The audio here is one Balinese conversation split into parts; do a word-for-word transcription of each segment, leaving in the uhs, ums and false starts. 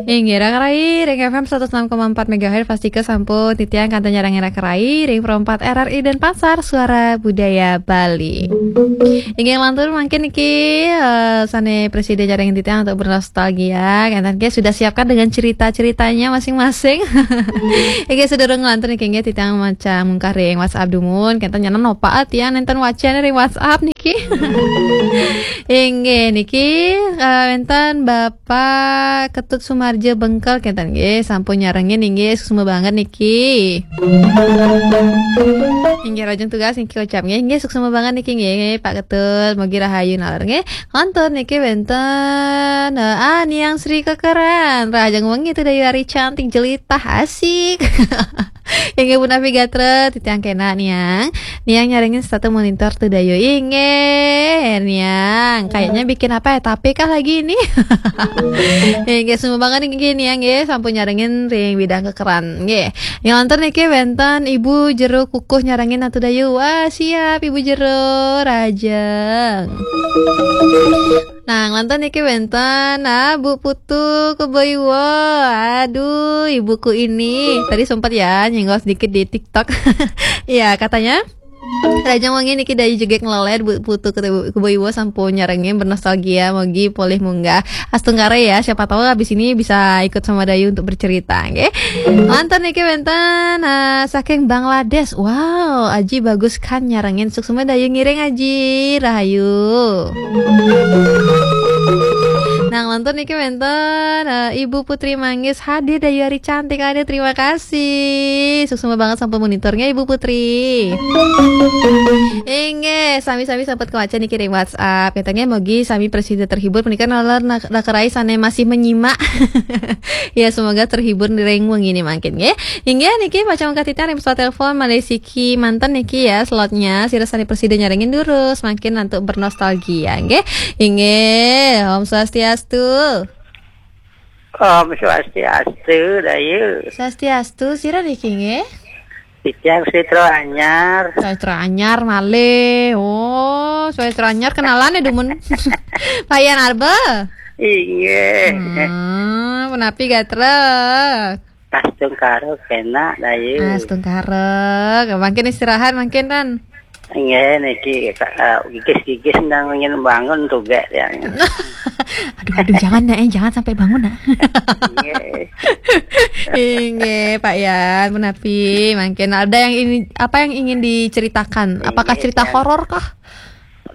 Inggih, Raka Rai, ring F M seratus enam koma empat megahertz, pastika sampun titiang kantun nyarengin Raka Rai ring Pro empat R R I Denpasar, Suara Budaya Bali. Inggih, lantur mangkin niki, eh, sane prasida nyarengin titiang untuk bernostalgia, kenten nggih sudah siapkan dengan cerita-ceritanya masing-masing. Inggih, sadurung lantur niki nggih titiang maca mungkah ring WhatsApp dumun, kenten nyanan nopa tiang nenten wacan ring WhatsApp niki. Inggih, niki, eh, wenten Bapak Ketut Sumarja Bengkel kenten nggih, sampun nyarengin inggih, suksma banget niki. Inggih, rahajeng tugas niki ucap nggih, inggih, suksma banget niki nggih, Pak Ketut, mugi rahayu naler nggih. Lantur niki wenten, eh, ah, Niang Sri Kekeran, rahajeng wengi Tudayu ari cantik jelitah asik. Inggih punapi gatra, titiang kena Niang. Niang nyarengin setata monitor Tudayu. Inggih, Niang. Kayaknya bikin apa ya? Tape kah lagi ini? Inggih, suksma banget niki Niang nggih, sampun nyarengin ring Widang Kekeran. Nggih. Yang lantur niki wenten Ibu Jero Kukuh nyarengin Tudayu. Wah, siap Ibu Jero, rahajeng. Nah, lantur niki wenten, ah, Bu Putu Kebaiwa. Aduh, ibuku ini. Tadi sempat ya nyenggol sedikit di TikTok. Iya, katanya, rahajeng wengi niki Dayu jegeg nglelet, Bu Putu Kebaiwa sampun nyarengin bernostalgia, mugi polih munggah. Astungkara ya, siapa tahu habis ini bisa ikut sama Dayu untuk bercerita, nggih. Lantur niki wenten, ah, saking Bangladesh. Wow, Aji Bagus Khan nyarengin, suksma Dayu ngiring Aji, rahayu. Nah, lantur niki wenten, eh, Ibu Putri Manggis hadir, Dayu ari cantik hadir, terima kasih. Suksma banget sampun monitornya Ibu Putri. Inggih, sami-sami sampun kawaca niki ring WhatsApp. Katanya mugi sami prasida terhibur, punika naler nak-, Raka Rai sane masih menyimak. Ya, semoga terhibur ring wengi niki mangkin nggih. Inggih niki maca mungkah titiang ring pesawat telepon malih siki manten niki ya slotnya. Sira sane prasida nyarengin durus mangkin antuk bernostalgia nggih. Inggih, Om Swastiastu. Om Swastiastu, Dayu. Swastiastu, sira niki nggih? Titiang Sitra Anyar. Sastra anyar malih. Oh, sastra anyar kenalan ya dumun. Pak Yan Arba. Inggih. Hmm, punapi gatra? Astungkara kena, Dayu. Astungkara. Mangkin istirahat mangkin, Tan. Inggih, niki, eh, gigis-gigis nang ingin bangun tugas ya. Aduh, aduh, jangan, Nak, eh, jangan sampai bangun, Nak. Inggih. Inggih, Pak Yan, punapi mangkin ada yang ini, apa yang ingin diceritakan? Apakah Inggih, cerita yang horor kah?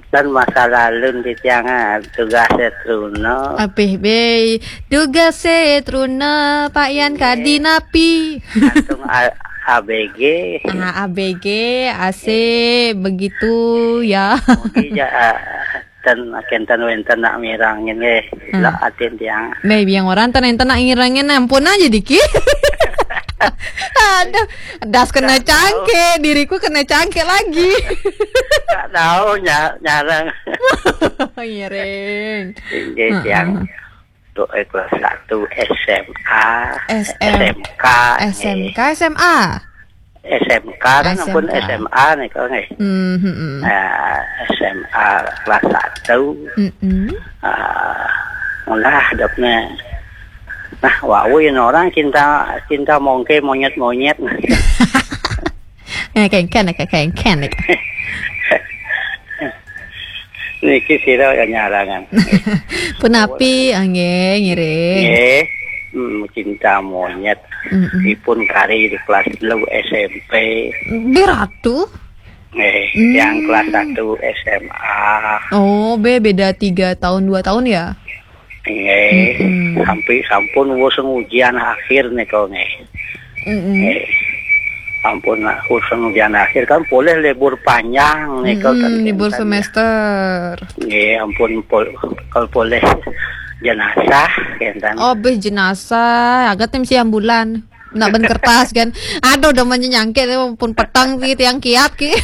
Dan masa lalu di tiang, ah, tugas truna. Apih be, tugas truna, Pak Yan, Inggih. Kadi napi? Langsung A-, A B G. Ah, A B G, A C, Inggih. Begitu ya. Mugi ja, ah, ten, kenten wenten nak mirang ini. Hmm. Lah atin tiang. Be, biang orang ten enten nak ngirangin, ampun aja dikit. Aduh, das kena Nggak tahu. Cangkir, diriku kena cangkir lagi. Nggak tahu nya-, nyarang. Ngiring. Inggih, Heeh. Tiang. Tuh, eh, kelas satu S M A, S M, S M K, S M K, nggih. S M A? S M K kan ampun S M A. S M A nih, kok, nggih. Hmm, hmm, hmm. Nah, S M A kelas satu. Mm-mm. Ah, ngolah hidupnya. Nah, wau yang orang cinta, cinta mongke monyet-monyet. Eh, kengken, eh, kengken, eh. Niki sira ya nyarangan. Punapi, ah, nggih, ngiring. Nggih. Hmm, cinta monyet. Mm-mm. Ipun kari di kelas telu S M P. Di Ratu? Nggih, Hmm. Yang kelas satu S M A. Oh, be-, beda tiga tahun, dua tahun ya? Nggih, Mm-mm. Sampai sampun wis ujian akhir nika nggih. Mm-mm. Nggih. Ampun, wis ujian akhir kan boleh libur panjang nika Mm-mm, kan libur kenten ya. Semester. Nggih, ampun pol-, kalau boleh jenazah kenten. Oh, be jenazah, agak tim siang bulan. Nak ben kertas kan. Aduh, udah menyangkit pun petang ki tiang kiat ki.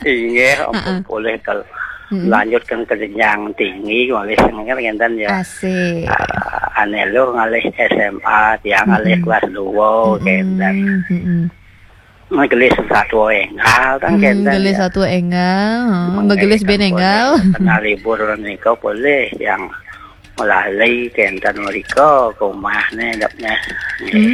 Inggih, ampun Heeh. Boleh kalau Mm-mm. Lanjutkan ke jenjang tinggi, ngalih sengker ngenten ya. Asik. Ah, ane lo ngalih S M A, tiang ngalih Mm-mm. Kelas dua, Mm-mm. Ngenten. Mm-mm. Ngelis satu enggal, kan Mm, ngenten gelis ya. Satu enggal, heeh, begelis ben enggal. Kena libur nika boleh yang melali kenten mereka ke rumah ni dapnya. Hmm.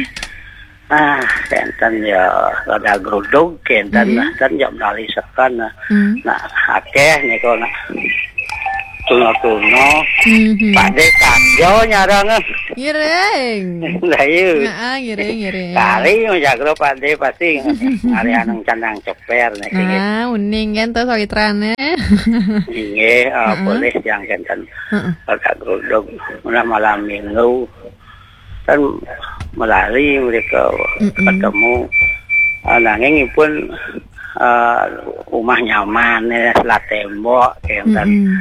Ah, kenten ya rada geruduk kenten Hmm. lah, kan ya melali sekan lah. Hmm. Nak akeh ni kau nak tuna-tuna. Hmm. Pak Dek tak jauh nyarang ah. Ngiring. Lah, ya. Heeh, ngiring, ngiring. Kari menjaga Pak Dek pasti. Hari anang canang ceper ni. Ah, uning kan tu sawitrane. Inggih, ah, Heeh. Boleh yang kenten. Heeh. Agak geruduk. Malam, malam minggu. Kan melali mereka Mm-mm. ketemu. Ah, nanging pun, ah, rumah nyaman ya, selat tembok kenten. Mm-mm.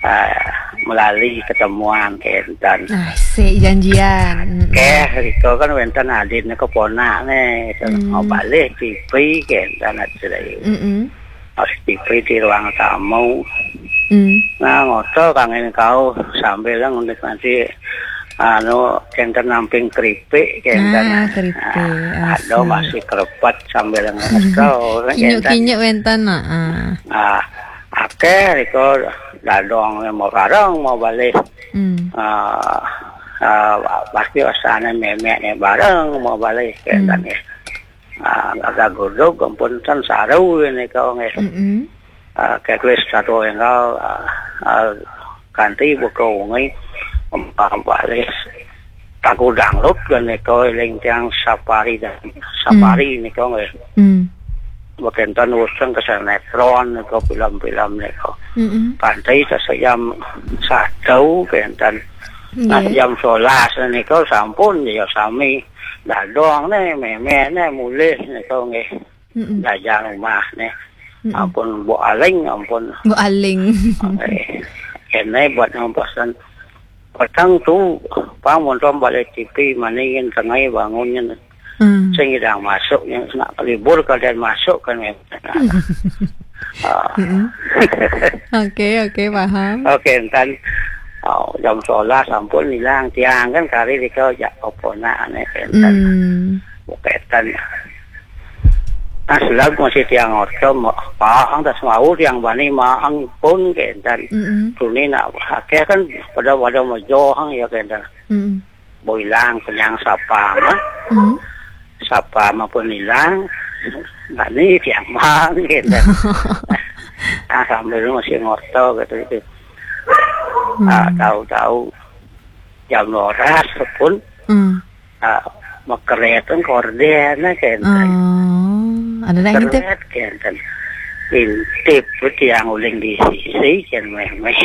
Ah, melali ketemuan kenten. Asik janjian. Mm-mm. Keh, riko kan wenten adin keponak ni. Hmm. Mau balik T V kenten aja. Mm-mm. Pas T V di ruang tamu. Hmm. Nah, ngoto kangen kau sambil menikmati anu kenten namping keripik kenten. Ah, keripik. Ah, ada Asik. Masih kerepet sambil ngoto. Kinyuk-kinyuk wenten, nah. Ah. Ah, akeh riko dadong mau bareng mau balik. Hmm. Ah, ah, pasti osane memek ni bareng mau balik kenten Hmm. ya. Ah, agak geruduk ampun kan saru ini kau nggih. Mm-mm. Ah, keklis satu enggal, ah, ah, kanti buka wengi, ah, balik. Taku dangdut kan ni kau eling tiang safari dan safari Hmm. ni kau nggih. Hmm. Bekenten useng ke sinetron ni kau film-film ni kau. Mm-mm. Kanti sejam satu kenten. Nah, Nggih. Jam sebelas ni kau sampun ya sami. Dadong ni, memek ni, mulih ni kau nggih. Mm-mm. Jajan rumah ni. Mm-mm. Ampun, Bu Aling, ampun. Bu Aling. Eh, kene buat ngampasan petang tu, pang montom balik T V, maningin tengah bangunnya. Hmm. Sing idang masuk, yang nak libur kalian masuk kan memang. Ah. Mm-mm. Oke, oke, paham. Oke, entan, oh, jam sebelas sampun hilang tiang kan kari di kau jak oponak ni, entan. Hmm. Buketan. Nah, selab masih tiang otom, pahang tas mau tiang bani maang pun ke entan. Mm-mm. Tuni nak akeh kan pada-pada mejohang ya ke entan. Mm-mm. Boilang kenyang sapa mah. Mm-mm. Sapa mah pun hilang. Bani tiang maang ke entan. Nah, sambil masih ngoto gitu, gitu. Hmm. Ah, tahu-tahu jam dua belas pun Hmm. Ah, mekeret kan korden, nah, kenten. Oh, ada nak ngintip? Keret, kenten. Intip tu tiang uling di sisi, kan, meh-meh.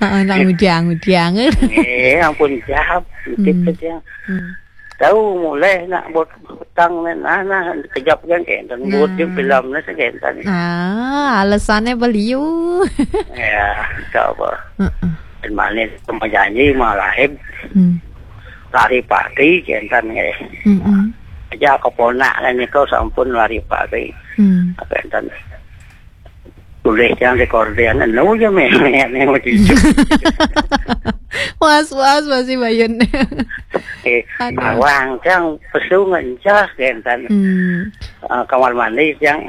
Heeh, nak ngudiang-ngudiang. Eh, ampun, jap. Intip Hmm. tu tiang. Hmm. Tahu mulai nak buat petang ni, nah, nah, kejap kan, kenten. Buat dia Nah. Film ni, kenten. Ah, alasannya beliau. Ya, tak apa. Heeh. Dan manis sama janji, malah lahir. Hmm. Lari pati, kenten, eh. Mm-mm. Aja keponak lah ni kau sampun lari pati. Hmm. Kenten. Tulis yang di korden, anu je meh, meh, meh, meh. Was-was masih Bayun. Eh, Aduh. Awang, yang pesu ngencah, kenten. Hmm. Ah, kamar mandi, yang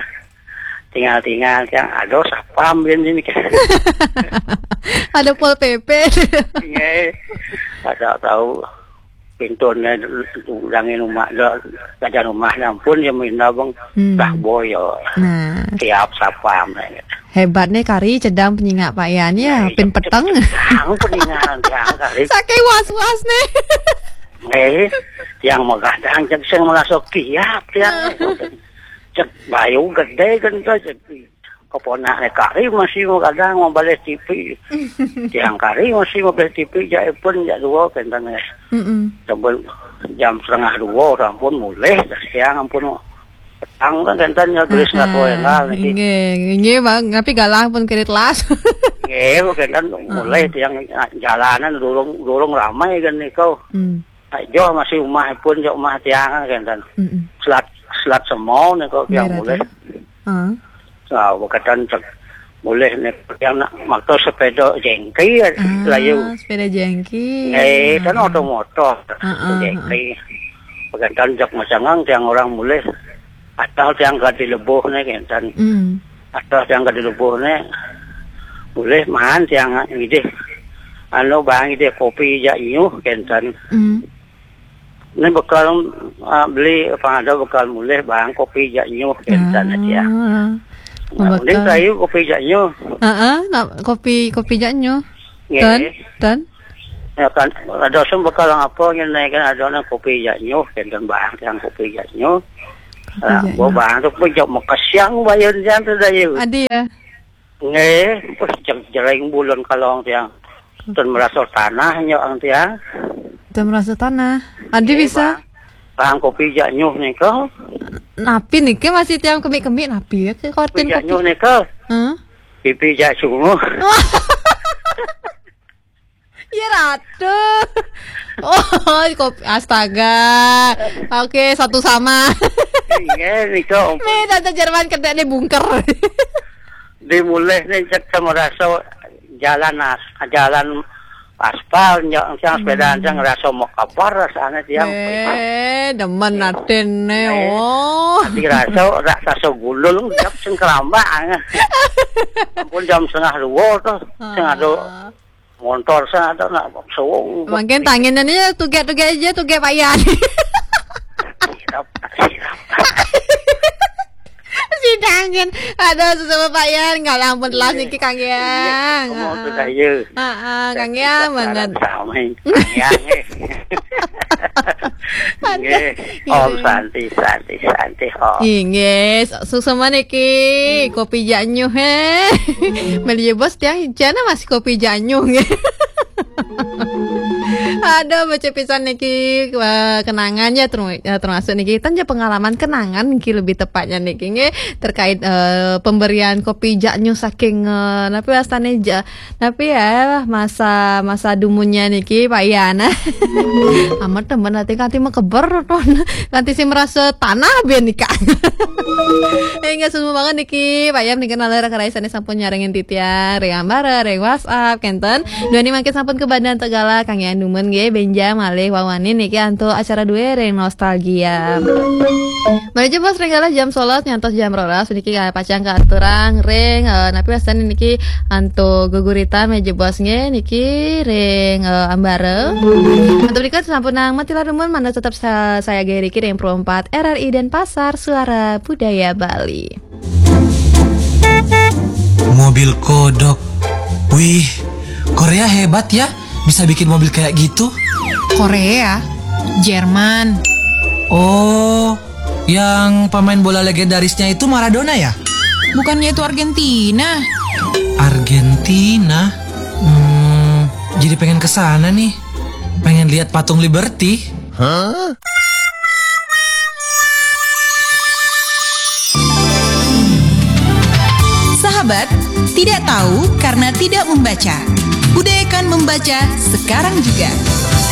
tinggal-tinggal, yang ada sapam, kan, ini. Ada Pol P P. Iya. Ada tahu. Pintune udangin rumah, da-, jajan rumah ampun ya minta bang Hmm. Dah boyo. Nah. Tiap sapam. Hebatnya kari cedang penyingak Pak Yan ya, Nah, pin iya, peteng. Cedang penyingak tiang kari. Saking was-was nih. Eh, yang magadang cek sing masuk tiap tiang. Nah. Cek bayu gede kan tuh, cek keponaknya kari masih mau kadang mau balik T V. Tiang kari masih mau balik T V, jak pun jak dua kenten ya. Mm-mm. Sampun jam setengah dua orang pun mulai siang ampun petang kan kenten ya tulis nggak tahu yang hal niki. Inggih, inggih, Bang, tapi galah pun kredit las. Nggih, kenten mulai tiang jalanan durung, durung ramai kan niku. Hmm. Aja masih rumah pun, jauh rumah tiang kan kenten. Mm-mm. Selat, selat semua niku tiang mulai. Heeh. Nah, berkaitan cek boleh ni yang nak motor sepeda jengki ya, ah, layu. Sepeda jengki. Eh, kan oto motor. Heeh, jengki. Berkaitan cek macangang tiang orang boleh. Atau tiang gadi lebuh ni kan. Hmm. Atau tiang gadi lebuh ni boleh man tiang ngidih. anu, bang ida kopi jak nyuh kenten. Hmm. Ni bekal, ah, beli apa ada bekal mulih bang kopi jak nyuh kenten aja. Ah. Nah, mending bekal. Kayu kopi jak nyuh. Heeh, nak kopi, kopi jak nyuh. Nggih. Ten, ten. Ya kan, ada sem bekal apa ngene kan ada nang kopi jak nyuh kenten bang yang kopi jak nyuh. Kopi jak nyuh. Bang tu pun jak makasiang bayun jam tu dayu. Adi ya. Nggih, pas jeng-, jereng bulan kalong tiang. Ten merasa tanah nyok ang tiang. Ten merasa tanah. Adi bisa. Bang, bang kopi jak nyuh nika. Napi niki masih tiang kemik-kemik napi ya ke koten kopi jak nyuh nika. Huh? Pipi jak sungguh. Ya, Ratu. Oh, kopi. Astaga. Oke, satu sama. Iya, nika ampun. Nih, tante Jerman kena nih bunker. Dimulih nih cek sama rasa jalan as-, jalan aspal, nyok, yang sepeda aja ngerasa mau kabar rasanya tiang. Eh, demen atin nih. Oh. Tapi rasa rak rasa gulul, jap sing kerambak. Ampun jam setengah dua tuh, setengah dua. Montor sana nak suwung. Mungkin tanginnya nih tuget-tuget aja, tuget payan. Sirap, sirap. Si tangan. Aduh, sesama payan, nggak ampun telas niki Kang Yang. Iya, kamu tuh kayu. Heeh, Kang Yang banget. Sama Kang Yang, eh. Nggih. Om Santi, Santi, Santi, Om. Inggih, suksma niki kopi jak nyuh, he. Meli bos tiang jana masih kopi jak nyuh, nggih. Aduh, baca pisan niki, wah, kenangan ya, term-, ya, termasuk niki, kan ya pengalaman kenangan niki lebih tepatnya niki, nggih, terkait, eh, pemberian kopi jak nyuh saking, eh, napi wastane ja-, Tapi ya, masa, masa dumunnya niki, Pak Ian. Amat temen nanti kanti mekeber, ton. Kanti si merasa tanah biar nikah. Enggak semua banget niki, Pak Ian niki nalar keraisane sampun nyarengin titian, ring ambara, ring WhatsApp, kenten. Dua ini makin sampun ke badan tegala, Kang Ian dumun nggih, benja malih wawani niki antuk acara dua ring nostalgia. Menuju bos ring galah jam sebelas nyantos jam rolas niki pacang katurang ring, eh, napi wastane niki antuk geguritan meja bos nggih niki ring, eh, ambara. Antuk berikut sampun nang mati larumun mana tetap sa-, saya Gary Riki ring Pro empat R R I Denpasar, Suara Budaya Bali. Mobil kodok. Wih, Korea hebat ya, bisa bikin mobil kayak gitu. Korea, Jerman. Oh, yang pemain bola legendarisnya itu Maradona ya? Bukannya itu Argentina? Argentina? Hmm, jadi pengen ke sana nih. Pengen lihat patung Liberty. Hah? Sahabat, tidak tahu karena tidak membaca. Budayakan membaca sekarang juga.